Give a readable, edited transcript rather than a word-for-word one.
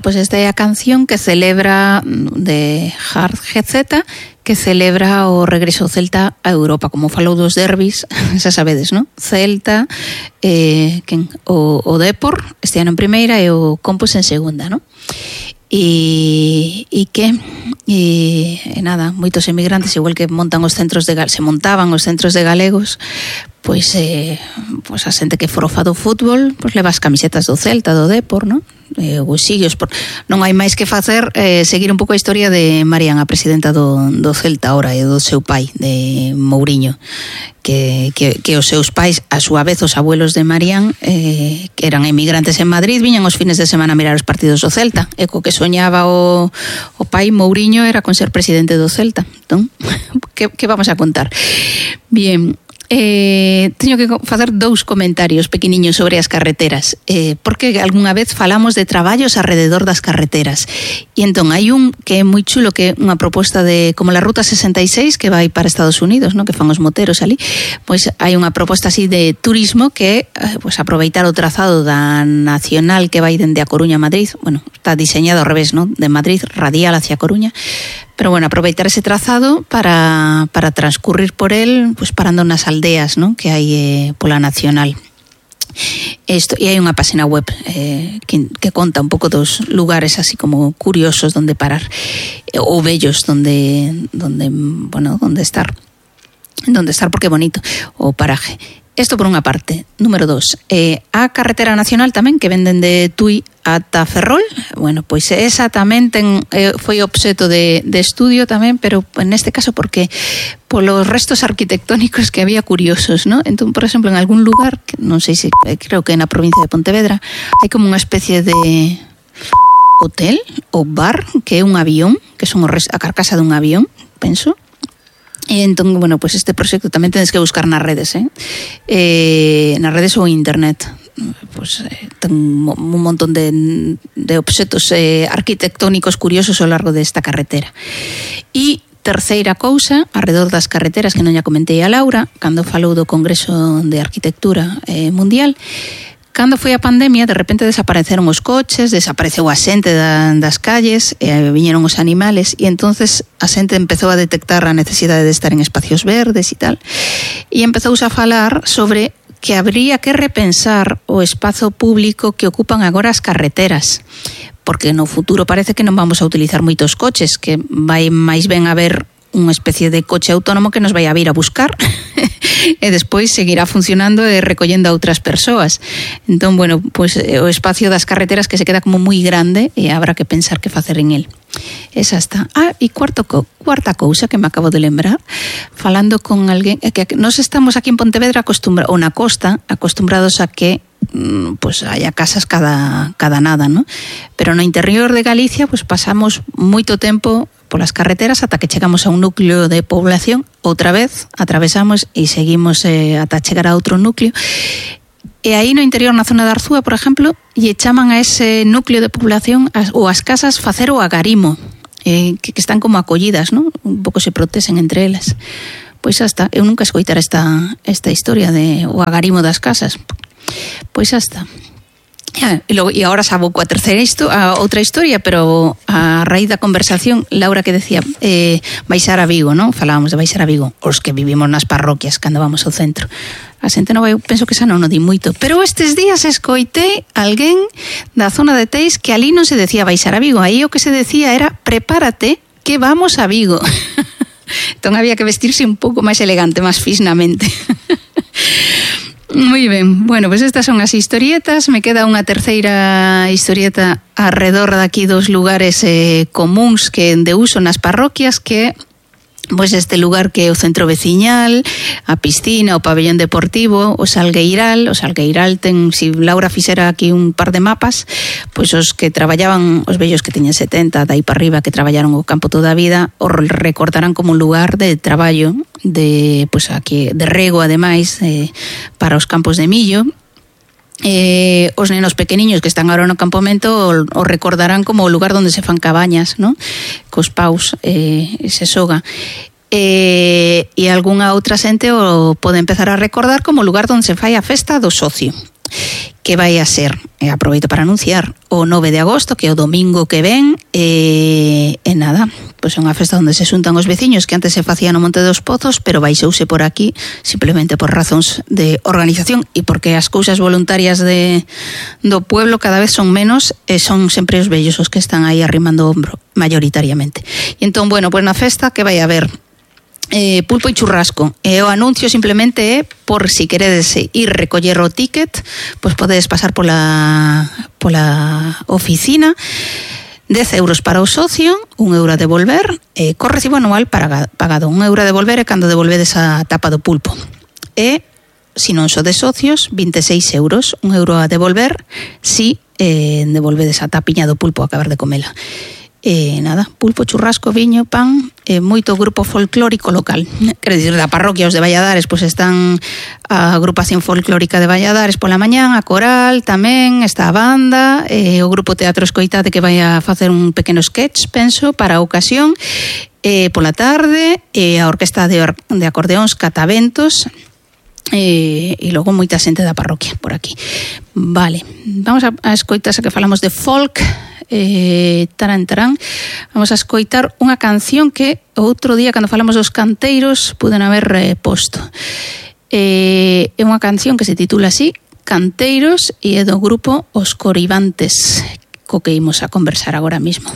pues esta é a canción que celebra de Hard GZ, que celebra o regreso do Celta a Europa, como falou dos derbis, xa sabedes, non? Celta, o Depor este ano en primeira e o Compos en segunda, non? E nada, moitos emigrantes, igual que montan os centros se montaban os centros de galegos, pois a xente que forofa do fútbol, pois leva as camisetas do Celta, do Depor, non? Os siguios, non hai máis que facer, seguir un pouco a historia de Marián, a presidenta do Celta ahora, e do seu pai, de Mouriño, que os seus pais, a súa vez os abuelos de Marián, que eran emigrantes en Madrid, viñan os fines de semana a mirar os partidos do Celta, e co que soñaba o pai Mouriño era con ser presidente do Celta. Entón, que vamos a contar? Bien, teño que facer 2 comentarios pequeniños sobre as carreteras, porque algunha vez falamos de traballos alrededor das carreteras, e entón hai un que é moi chulo, que é unha proposta de como la Ruta 66 que vai para Estados Unidos, ¿no? Que fan os moteros ali, pois hai unha proposta así de turismo que é pues, aproveitar o trazado da Nacional que vai dende a Coruña a Madrid, bueno, está diseñado ao revés, ¿no? De Madrid radial hacia Coruña, pero bueno, aproveitar ese trazado para transcurrir por él, pues parando nas aldeas, ¿no? Que hai pola Nacional. E hai unha página web que conta un pouco dos lugares así como curiosos donde parar, ou bellos donde estar porque é bonito o paraje. Isto por unha parte. Número 2, a carretera nacional tamén que venden de Tui ata Ferrol, bueno, pois esa tamén foi obxeto de estudio tamén, pero neste caso porque polos restos arquitectónicos que había curiosos, ¿no? Entón, por exemplo, en algún lugar, non sei se, creo que na provincia de Pontevedra, hai como unha especie de hotel ou bar que é un avión, que son a carcasa dun avión, penso. E entón, bueno, pues este proxecto tamén tedes que buscar nas redes, nas redes ou internet. Pues ten un montón de obxetos arquitectónicos curiosos ao largo desta carretera. E terceira cousa, alrededor das carreteras, que non ya comentei a Laura, cando falou do Congreso de Arquitectura Mundial, cando foi a pandemia, de repente desapareceron os coches, desapareceu a xente das calles, viñeron os animales, e entonces a xente empezou a detectar a necesidade de estar en espacios verdes e tal, e empezouse a falar sobre que habría que repensar o espazo público que ocupan agora as carreteras, porque no futuro parece que non vamos a utilizar moitos coches, que vai máis ben haber unha especie de coche autónomo que nos vai a vir a buscar e despois seguirá funcionando e recollendo a outras persoas. Entón, bueno, pues o espacio das carreteras que se queda como moi grande e habrá que pensar que facer en el. Esa está. E cuarta cousa que me acabo de lembrar, falando con alguén, é que nos estamos aquí en Pontevedra ou na costa acostumbrados a que pues haya casas cada nada, ¿no? Pero no interior de Galicia pues pasamos moito tempo polas carreteras ata que chegamos a un núcleo de población, outra vez atravesamos e seguimos ata chegar a outro núcleo. E aí no interior, na zona de Arzúa, por exemplo, lle chaman a ese núcleo de población ou as casas facer o agarimo, que están como acollidas, ¿no? Un pouco se protesen entre elas. Pois hasta, eu nunca escoitara esta historia de o agarimo das casas. Pois hasta. E agora sabo coa outra historia, pero a raíz da conversación, Laura que decía baixar a Vigo, non? Falábamos de baixar a Vigo, os que vivimos nas parroquias cando vamos ao centro. A xente non vai, penso que xa non o di moito, pero estes días escoitei alguén da zona de Teis que ali non se decía baixar a Vigo, aí o que se decía era prepárate que vamos a Vigo. Entón había que vestirse un pouco máis elegante, máis fisnamente. Moi ben, bueno, pues estas son as historietas. Me queda unha terceira historieta alrededor daqui dos lugares comuns que de uso nas parroquias, que pois este lugar que é o centro veciñal, a piscina, o pabellón deportivo, o Salgueiral. O Salgueiral ten, si Laura fixera aquí un par de mapas, pois os que traballaban, os vellos que teñen 70, dai para arriba, que traballaron o campo toda a vida, o recordarán como un lugar de traballo, de, pois aquí, de rego ademais, para os campos de millo. Os nenos pequeniños que están agora no campamento o recordarán como o lugar onde se fan cabañas, ¿no? Cos paus se soga. E algunha outra xente o pode empezar a recordar como o lugar onde se fai a festa do socio. que vai a ser, aproveito para anunciar, o 9 de agosto, que é o domingo que ven, e nada, pois é unha festa onde se xuntan os veciños que antes se facía no Monte dos Pozos, pero baixouse por aquí simplemente por razóns de organización e porque as cousas voluntarias do pueblo cada vez son menos e son sempre os vellos os que están aí arrimando o ombro mayoritariamente. E entón, bueno, pois na festa que vai haber pulpo e churrasco, e o anuncio simplemente é por si queredes ir recoller o ticket, pois podedes pasar pola oficina. 10 euros para o socio, 1 euro a devolver, co recibo anual pagado, 1 euro a devolver e cando devolvedes a tapa do pulpo. E se non sodes socios, 26 euros, 1 euro a devolver si devolvedes a tapiña do pulpo a acabar de comela. Nada, pulpo, churrasco, viño, pan, moito grupo folclórico local. Quero dicir, da parroquia, os de Valladares, pois están a agrupación folclórica de Valladares pola mañán, a coral tamén, está a banda, o grupo Teatro Escoitate que vai a facer un pequeno sketch, penso, para a ocasión, pola tarde, a orquesta de acordeóns Cataventos, e logo moita xente da parroquia por aquí. Vale, vamos a escoitar, xa que falamos de folk, tarán, vamos a escoitar unha canción que outro día cando falamos dos canteiros puden haber posto. É unha canción que se titula así, Canteiros, e é do grupo Os Coribantes, co que imos a conversar agora mismo.